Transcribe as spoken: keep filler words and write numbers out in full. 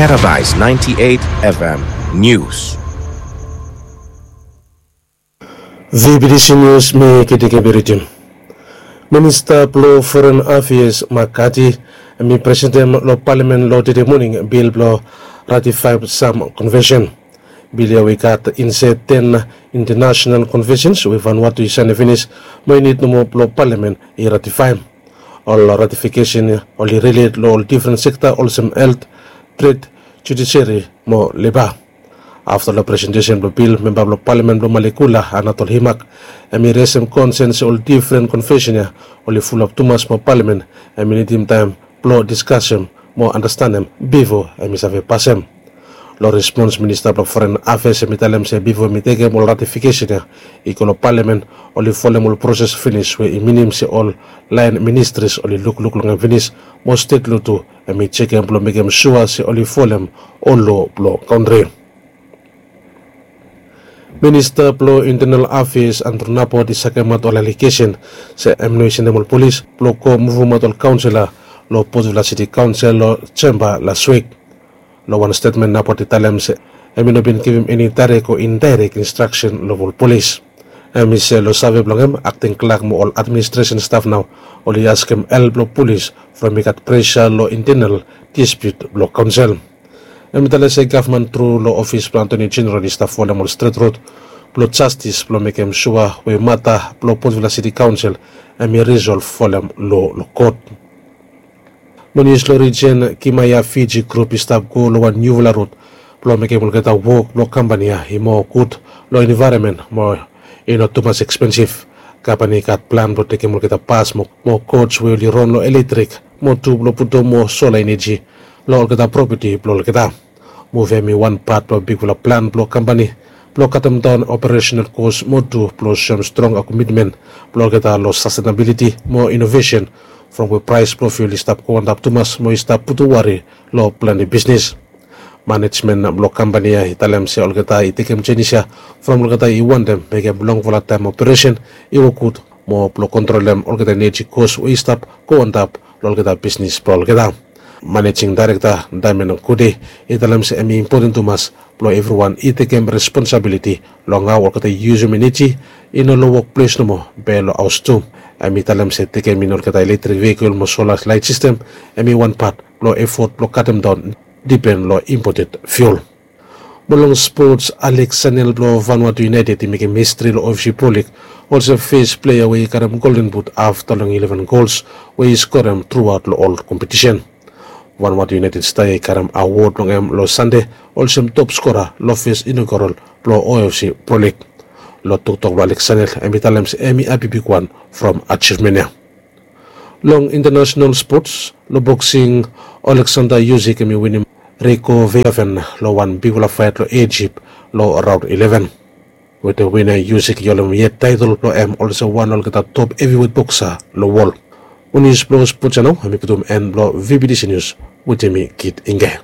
Paradise ninety-eight F M News. V B T C News, mi Kidiki Biritim. Minista blong Foren Afeas Makati hemi presentem long palamen long tede moning bil blong ratifaem sam konvensen. Bil ya we i gat insaed ten intanasenal konvensens we Vanuatu i saenem finis, mo i nid nomo blong palamen i ratifaem. Ol ratifikesen ya oli rilet long ol difren sekta olsem helt, tred, judiseri mo leba. Afta long presentesen blong bil, memba blong palamen blong Malekula, Anatol Himak, hemi resem konsen se ol difren konvensen ya oli fulap tumas mo palamen hemi nidim taem blong diskasem mo andastanem bifo hemi save pasem. Long respons, Minista blong Foren Afeas hemi talem se bifo hemi tekem ol ratifikesen ya i go long palamen, oli folem ol proses finis, we i minim se ol laen ministris oli lukluk long hem finis, mo stet lo tu hemi jekem blong mekem sua se oli folem ol loa blong kantri. Minista blong Intenal Afeas Andrew Nabot i sakemaot ol alegesen se hem no i sendem ol polis blong go muvumaot ol kaonsela long Port Vila Siti Kaonsel long Jemba las wik. Long wan stetmen, Nabot i talem se hemi no bin givim eni daerek o indaerek instraksen long ol polis. Hemi se long save blong hem, akting klak mo ol administresen staf nao oli askem help long polis from i gat presa long intenal dispiut blong kaonsel. Hemi talem se gavman tru long ofis blong Atoni Jeneral i stap folem ol stret rod blong jastis blong mekem sua we mata blong Port Vila Siti Kaonsel hemi risolv folem lo long kot. Mo nius long rijen, Kimaya Fiji Grup i stap go long wan niufala rut blong mekem olgeta wok blong kampani ya i moa gud long envaeronmen mo i no tumas ekspensif. Kampani i gat plan blong tekem olgeta bas mo, mo koj we oli ron long eletrik, mo tu blong putum moa sola eneji long olgeta propeti blong olgeta. Muv ya hemi wan pat blong bigfala plan blong kampani blong katemdaon operasenal kos mo tu blong soem strong komitmen blong olgeta long sastenabiliti mo inovesen, from we praes blong fiul i stap go antap tumas mo i stap putum wari long plante bisnes. Manejmen blong kampani ya i talem se olgeta i tekem jenis ya from olgeta i wantem mekem longfala taem operesen i wok gud mo blong kontrolem olgeta eneji kos we i stap go antap long olgeta bisnes blong olgeta. Manejing Daerekta Diamond Kude i talem se hemi impoten tumas blong evriwan i tekem responsabiliti long hao olgeta i yusum eneji i no long wokples nomo, be long haos tu. Hemi talem se tekem in olgeta eletrik veikol mo sola laet sistem hemi wan pat blong efot blong katemdaon dipen long impoten fiul. Mo long spots, Alex Sanel blong Vanuatu United i mekem histri long O F C Pro League olsem fes plea we i karem Golden Boot afta long ileven gols we i skorem truaot long ol kompetisen. Vanuatu United sta ya i karem awod blong hem long Sande olsem top skora long fes inaugural blong O F C Pro League. Long toktok blong Alex Sanel, hemi talem se hemi hapi bigwan from ajivmen ya. Long intanasenal spots, long boksing, Alexander Usyk hemi winim Rico Verhoeven long wan bigfala faet long Ijip long raon ileven. Wetem win ya, Usyk i holem yet taetol blong hem olsem wan long olgeta top heviwet boksa long wol. Mo nius blong spots ya nao hemi putum en blong V B T C Nius. Wetem mi, Kit Inge.